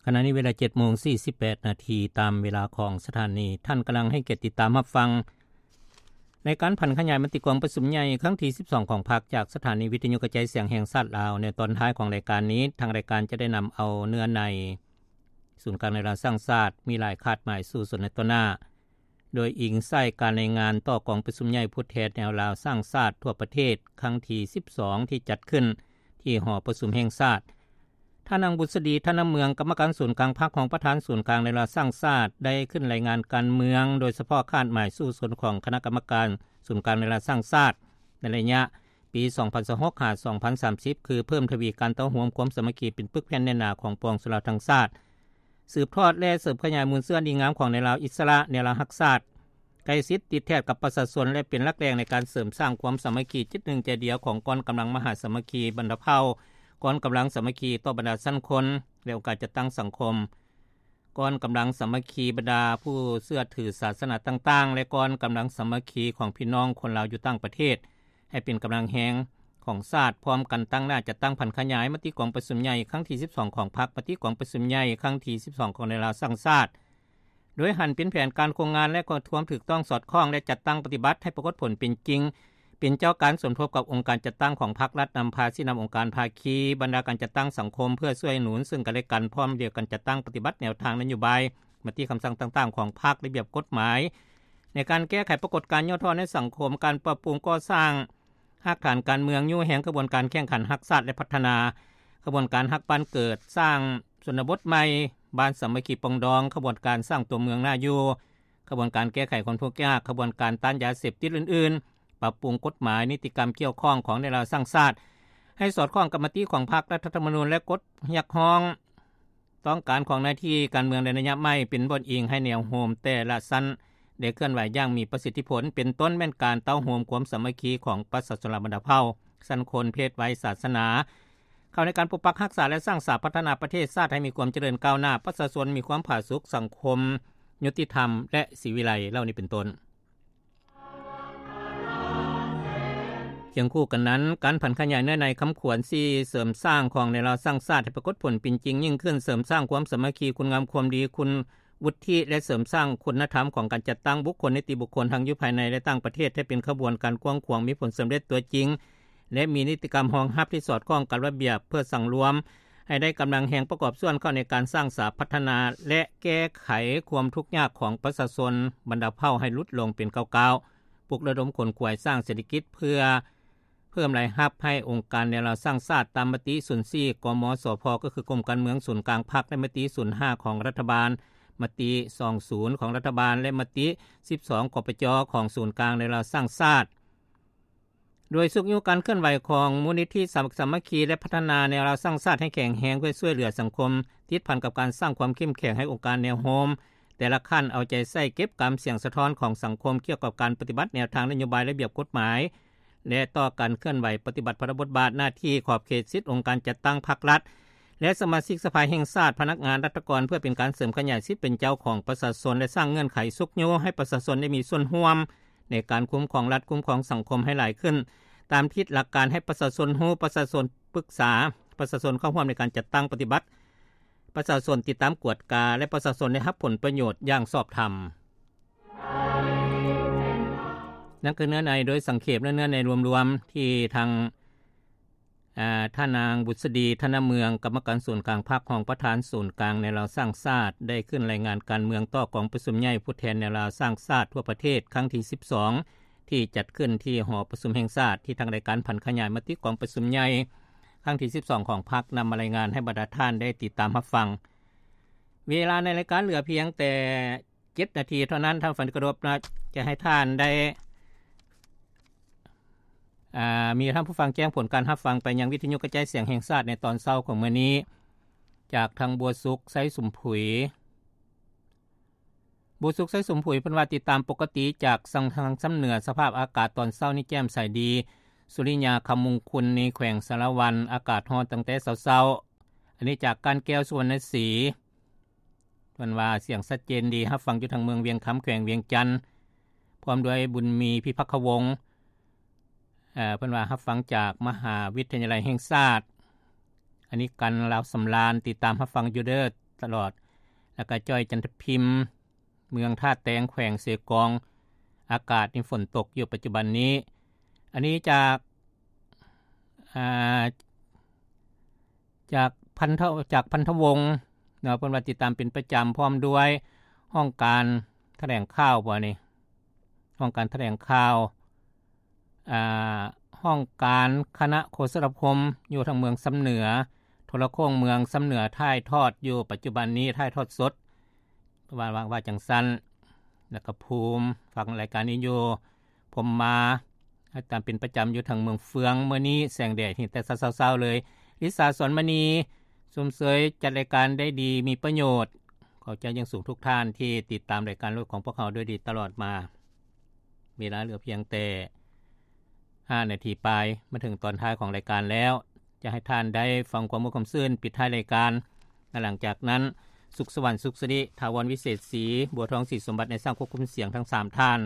ຂະນະນີ້ເວລາເຈັດໂມງສີ່ສິບແປດນາທີ ຕາມເວລາຂອງສະຖານີ. ທ່ານກຳລັງໃຫ້ກຽດຕິດຕາມຮັບຟັງ ລາຍການຜັນຂະຫຍາຍມະຕິກອງປະຊຸມໃຫຍ່ຄັ້ງທີສິບສອງຂອງພັກ ຈາກສະຖານີວິທະຍຸກະຈາຍສຽງແຫ່ງຊາດລາວ. ໃນຕອນທ້າຍຂອງລາຍການນີ້ ທາງລາຍການຈະໄດ້ນຳເອົາເນື້ອໃນ ສູນກາງແນວລາວສ້າງຊາດ ມີຫຼາຍຄາດໝາຍສູ້ຊົນໃນຕໍ່ໜ້າ ໂດຍອີງໃສ່ການລາຍງານຕໍ່ກອງປະຊຸມໃຫຍ່ຜູ້ແທນແນວລາວສ້າງຊາດທົ່ວປະເທດ ຄັ້ງທີສິບສອງ ທີ່ຈັດຂຶ້ນທີ່ຫໍປະຊຸມແຫ່ງຊາດ. ທ່ານນາງ ບຸດສະດີ ທັນນະເມືອງ ກຳມະການສູນກາງພັກ ຮອງປະທານສູນກາງແນວລາວສ້າງຊາດ ໄດ້ຂຶ້ນລາຍງານການເມືອງ ໂດຍສະເພາະຄາດໝາຍສູ້ຊົນຂອງຄະນະກຳມະການສູນກາງແນວລາວສ້າງຊາດ ໃນໄລຍະປີສອງພັນຊາວຫົກ ຫາ ສອງພັນສາມສິບ ຄືເພີ່ມທະວີການເຕົ້າໂຮມຄວາມສາມັກຄີເປັນປຶກແຜ່ນແໜ້ນໜາຂອງປວງຊົນລາວທັງຊາດ, ສືບທອດ ແລະ ເສີມຂະຫຍາຍມູນເຊື້ອດີງາມຂອງແນວລາວອິດສະຫຼະ, ແນວລາວຮັກຊາດ, ໃກ້ຊິດຕິດແທດກັບປະຊາຊົນ ແລະ ເປັນຫຼັກແຫຼ່ງໃນການເສີມສ້າງຄວາມສາມັກຄີຈິດໜຶ່ງໃຈດຽວຂອງກອງກຳລັງມະຫາສາມັກຄີບັນດາເຜົ່າ, ກອງກຳລັງສາມັກຄີຕໍ່ບັນດາຊັ້ນຄົນ ແລະ ອົງການຈັດຕັ້ງສັງຄົມ, ກອງກຳລັງສາມັກຄີບັນດາຜູ້ເຊື່ອຖືສາສະໜາຕ່າງໆ ແລະ ກອງກຳລັງສາມັກຄີຂອງພີ່ນ້ອງຄົນລາວຢູ່ຕ່າງປະເທດ ໃຫ້ເປັນກຳລັງແຮງຂອງຊາດ, ພ້ອມກັນຕັ້ງໜ້າຈັດຕັ້ງຜັນຂະຫຍາຍມະຕິກອງປະຊຸມໃຫຍ່ຄັ້ງທີສິບສອງຂອງພັກ, ມະຕິກອງປະຊຸມໃຫຍ່ຄັ້ງທີສິບສອງຂອງແນວລາວສ້າງຊາດ ໂດຍຫັນເປັນແຜນການໂຄງງານ ແລະ ຄວາມຖືກຕ້ອງສອດຄ່ອງ ແລະ ຈັດຕັ້ງປະຕິບັດໃຫ້ປາກົດຜົນເປັນຈິງ, ເປັນເຈົ້າການສົມທົບກັບອົງການຈັດຕັ້ງຂອງພັກລັດ, ນຳພາຊີ້ນຳອົງການພາຄີ, ບັນດາການຈັດຕັ້ງສັງຄົມ ເພື່ອຊ່ວຍໜູນເຊິ່ງກັນແລະກັນ, ພ້ອມດຽວກັນຈັດຕັ້ງປະຕິບັດແນວທາງນະໂຍບາຍ, ມະຕິຄຳສັ່ງຕ່າງໆຂອງພັກ, ລະບຽບກົດໝາຍ ໃນການແກ້ໄຂປາກົດການຫຍໍ້ທໍ້ໃນສັງຄົມ, ການປັບປຸງກໍ່ສ້າງ ຮາກຖານການເມືອງ, ຍູ້ແຮງຂະບວນການແຂ່ງຂັນຮັກຊາດ ແລະ ພັດທະນາ, ຂະບວນການຮັກບ້ານເກີດ, ສ້າງຊົນນະບົດໃໝ່, ບ້ານສາມັກຄີປອງດອງ, ຂະບວນການສ້າງຕົວເມືອງໜ້າຢູ່, ຂະບວນການແກ້ໄຂຄວາມທຸກຍາກ, ຂະບວນການຕ້ານຢາເສບຕິດອື່ນໆ, ປັບປຸງກົດໝາຍນິຕິກຳກ່ຽວຂ້ອງຂອງແນວລາວສ້າງຊາດ ໃຫ້ສອດຄ່ອງກັບມະຕິຂອງພັກ, ລັດຖະທຳມະນູນ ແລະ ກົດຮຽກຮ້ອງ ຕ້ອງການຂອງໜ້າທີ່ການເມືອງໃນໄລຍະໃໝ່ ເປັນບ່ອນອີງໃຫ້ແນວໂຮມແຕ່ລະຊັ້ນໄດ້ເຄື່ອນໄຫວຢ່າງມີປະສິດທິຜົນ, ເປັນຕົ້ນແມ່ນການເຕົ້າໂຮມຄວາມສາມັກຄີຂອງປະຊາຊົນລາວບັນດາເຜົ່າ, ຊັ້ນຄົນ, ເພດ, ໄວ, ສາສະໜາ ເຂົ້າໃນການປົກປັກຮັກສາ ແລະ ສ້າງສາພັດທະນາປະເທດຊາດໃຫ້ມີຄວາມຈະເລີນກ້າວໜ້າ, ປະຊາຊົນມີຄວາມຜາສຸກ, ສັງຄົມຍຸຕິທຳ ແລະ ສີວິໄລ ເຫຼົ່ານີ້ເປັນຕົ້ນ. ຄຽງຄູ່ກັນນັ້ນ, ການຜັນຂະຫຍາຍເນື້ອໃນຄຳຂວັນສີ່ເສີມສ້າງຂອງແນວລາວສ້າງຊາດໃຫ້ປາກົດຜົນເປັນຈິງຍິ່ງຂຶ້ນ, ເສີມສ້າງຄວາມສາມັກຄີ, ຄຸນງາມຄວາມດີ, ຄຸນວຸດທິ ແລະ ເສີມສ້າງຄຸນນະທຳຂອງການຈັດຕັ້ງບຸກຄົນ, ນິຕິບຸກຄົນ ທັງຢູ່ພາຍໃນ ແລະ ຕ່າງປະເທດ ໃຫ້ເປັນຂະບວນການກວ້າງຂວາງ, ມີຜົນສຳເລັດຕົວຈິງ ແລະ ມີນິຕິກຳຮອງຮັບທີ່ສອດຄ່ອງກັບລະບຽບ ເພື່ອສັງລວມ ໃຫ້ໄດ້ກຳລັງແຮງປະກອບສ່ວນເຂົ້າໃນການສ້າງສາພັດທະນາ ແລະ ແກ້ໄຂຄວາມທຸກຍາກຂອງປະຊາຊົນບັນດາເຜົ່າໃຫ້ຫຼຸດລົງເປັນກ້າວໆ, ປຸກລະດົມຂົນຂວາຍສ້າງເສດຖະກິດເພື່ອເພີ່ມລາຍຮັບໃຫ້ອົງການແນວລາວສ້າງຊາດຕາມມະຕິສູນສີ່ ກມສພ ກໍຄືກົມການເມືອງສູນກາງພັກ ແລະ ມະຕິສູນຫ້າຂອງລັດຖະບານ, ມະຕິສອງສູນຂອງລັດຖະບານ ແລະ ມະຕິສິບສອງ ກປຈ ຂອງສູນກາງແນວລາວສ້າງຊາດ. ໂດຍຊຸກຍູ້ການເຄື່ອນໄຫວຂອງມູນນິທິສາມັກຄີ ແລະ ພັດທະນາແນວລາວສ້າງຊາດໃຫ້ແຂງແຮງ ເພື່ອຊ່ວຍເຫຼືອສັງຄົມ, ຕິດພັນກັບການສ້າງຄວາມເຂັ້ມແຂງໃຫ້ອົງການແນວໂຮມແຕ່ລະຂັ້ນ ເອົາໃຈໃສ່ເກັບກຳສຽງສະທ້ອນຂອງສັງຄົມກ່ຽວກັບການປະຕິບັດແນວທາງນະໂຍບາຍ, ລະບຽບກົດໝາຍ ແລະ ຕໍ່ການເຄື່ອນໄຫວປະຕິບັດພາລະບົດບາດໜ້າທີ່, ຂອບເຂດສິດ, ອົງການຈັດຕັ້ງພັກລັດ ແລະ ສະມາຊິກສະພາແຫ່ງຊາດ, ພະນັກງານລັດຖະກອນ ເພື່ອເປັນການເສີມຂະຫຍາຍສິດເປັນເຈົ້າຂອງປະຊາຊົນ ແລະ ສ້າງເງື່ອນໄຂຊຸກຍູ້ໃຫ້ປະຊາຊົນໄດ້ມີສ່ວນຮ່ວມ ໃນການຄຸ້ມຄອງລັດ, ຄຸ້ມຄອງສັງຄົມໃຫ້ຫຼາຍຂຶ້ນ ຕາມທິດຫຼັກການໃຫ້ປະຊາຊົນຮູ້, ປະຊາຊົນປຶກສາ, ປະຊາຊົນເຂົ້າຮ່ວມໃນການຈັດຕັ້ງປະຕິບັດ, ປະຊາຊົນຕິດຕາມກວດກາ ແລະ ປະຊາຊົນໄດ້ຮັບຜົນປະໂຫຍດຢ່າງຊອບທຳ. ນັ້ນຄືເນື້ອໃນໂດຍສັງເຂບ ແລະ ເນື້ອໃນລວມໆ ທີ່ທາງ ອາ ທ່ານນາງ ບຸດສະດີ ທັນນະເມືອງ ກຳມະການສູນກາງພັກ ຮອງປະທານສູນກາງແນວລາວສ້າງຊາດ ໄດ້ຂຶ້ນລາຍງານການເມືອງຕໍ່ກອງປະຊຸມໃຫຍ່ຜູ້ແທນແນວລາວສ້າງຊາດທົ່ວປະເທດ ຄັ້ງທີສິບສອງ ທີ່ຈັດຂຶ້ນທີ່ຫໍປະຊຸມແຫ່ງຊາດ ທີ່ທາງລາຍການຜັນຂະຫຍາຍມະຕິກອງປະຊຸມໃຫຍ່ຄັ້ງທີສິບສອງຂອງພັກ ນຳມາລາຍງານໃຫ້ບັນດາທ່ານໄດ້ຕິດຕາມຮັບຟັງ. ເວລາໃນລາຍການເຫຼືອພຽງແຕ່ ເຈັດນາທີເທົ່ານັ້ນ ທ່ານຜູ້ຟັງທີ່ເຄົາລົບ, ຈະໃຫ້ທ່ານໄດ້ ອາ ມີທ່ານຜູ້ຟັງແຈ້ງຜົນການຮັບຟັງໄປຍັງວິທະຍຸກະຈາຍສຽງແຫ່ງຊາດໃນຕອນເຊົ້າຂອງມື້ນີ້ ຈາກທາງບົວສຸກ ໄຊສົມຜຸຍ. ບົວສຸກ ໄຊສົມຜຸຍ ເພິ່ນວ່າຕິດຕາມປົກກະຕິຈາກທາງຊຳເໜືອ ສະພາບອາກາດຕອນເຊົ້ານີ້ແຈ່ມໃສດີ, ສຸລິຍາຄຳມຸງຄຸນ ໃນແຂວງສາລະວັນ ອາກາດຮ້ອນຕັ້ງແຕ່ເຊົ້າໆ. ອັນນີ້ຈາກການແກ້ວ ສຸວັນນະສີ. ເພິ່ນວ່າສຽງຊັດເຈນດີ, ຮັບຟັງຢູ່ທາງເມືອງວຽງຄຳ ແຂວງວຽງຈັນ, ພ້ອມດ້ວຍບຸນມີ ພິພັກຄະວົງ. ເອີ ເພິ່ນວ່າຮັບຟັງຈາກມະຫາວິທະຍາໄລແຫ່ງຊາດ. ອັນນີ້ກັນ ລາວສຳລານ, ຕິດຕາມຮັບຟັງຢູ່ເດີ, ຕະຫຼອດ ແລ້ວກໍຈ້ອຍ ຈັນທະພິມ ເມືອງທ່າແຕງ ແຂວງເຊກອງ ອາກາດນີ້ຝົນຕົກຢູ່ປັດຈຸບັນນີ້. ອັນນີ້ຈາກ ອ່າ ຈາກພັນທະ ຈາກພັນທະວົງເນາະ ເພິ່ນວ່າຕິດຕາມເປັນປະຈຳ ພ້ອມດ້ວຍຫ້ອງການຖະແຫຼງຂ່າວ ບໍ່ນີ້ ຫ້ອງການຖະແຫຼງຂ່າວ ອ່າ ຫ້ອງການຄະນະໂຄສະນາຄົມ ຢູ່ທາງເມືອງຊຳເໜືອ ໂທລະໂຄ່ງເມືອງຊຳເໜືອ ຖ່າຍທອດຢູ່ປັດຈຸບັນນີ້ ຖ່າຍທອດສົດ ວ່າ ວ່າ ວ່າຈັ່ງຊັ້ນ. ແລ້ວກໍພູມ ຟັງລາຍການນີ້ຢູ່ ພົມມາ ຕາມເປັນປະຈຳຢູ່ທາງເມືອງເຟືອງ ມື້ນີ້ແສງແດດເຫັນແຕ່ເຊົ້າໆ ເລີຍ. ລິສາ ສອນມະນີ ຊົມເຊີຍຈັດລາຍການໄດ້ດີ ມີປະໂຫຍດ. ຂອບໃຈຢ່າງສູງທຸກທ່ານທີ່ຕິດຕາມລາຍການຂອງພວກເຮົາດ້ວຍດີຕະຫຼອດມາ. ເວລາເຫຼືອພຽງແຕ່ຫ້ານາທີປາຍ ມາເຖິງຕອນທ້າຍຂອງລາຍການແລ້ວ. ຈະໃຫ້ທ່ານໄດ້ຟັງຄວາມມ່ວນຄວາມຊື່ນປິດທ້າຍລາຍການ. ແລະ ຫຼັງຈາກນັ້ນ ສຸກສະຫວັນ ສຸກສິລິ, ຖາວອນ ວິເສດສີ, ບົວທອງ ສີສົມບັດ ໃນຊ່າງຄວບຄຸມສຽງທັງສາມທ່ານ,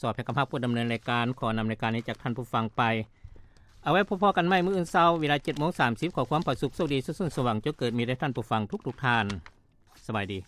ສອບແພກຳຮັບຜູ້ດຳເນີນລາຍການ. ຂໍນຳລາຍການນີ້ຈາກທ່ານຜູ້ຟັງໄປ. ເອົາໄວ້ພົບພໍ້ກັນໃໝ່ມື້ອື່ນເຊົ້າ ເວລາເຈັດໂມງສາມສິບ. ຂໍຄວາມຜາສຸກໂຊກດີ ສຸກສົນສວ່າງ ຈົ່ງເກີດມີແດ່ທ່ານຜູ້ຟັງທຸກໆທ່ານ. ສະບາຍດີ.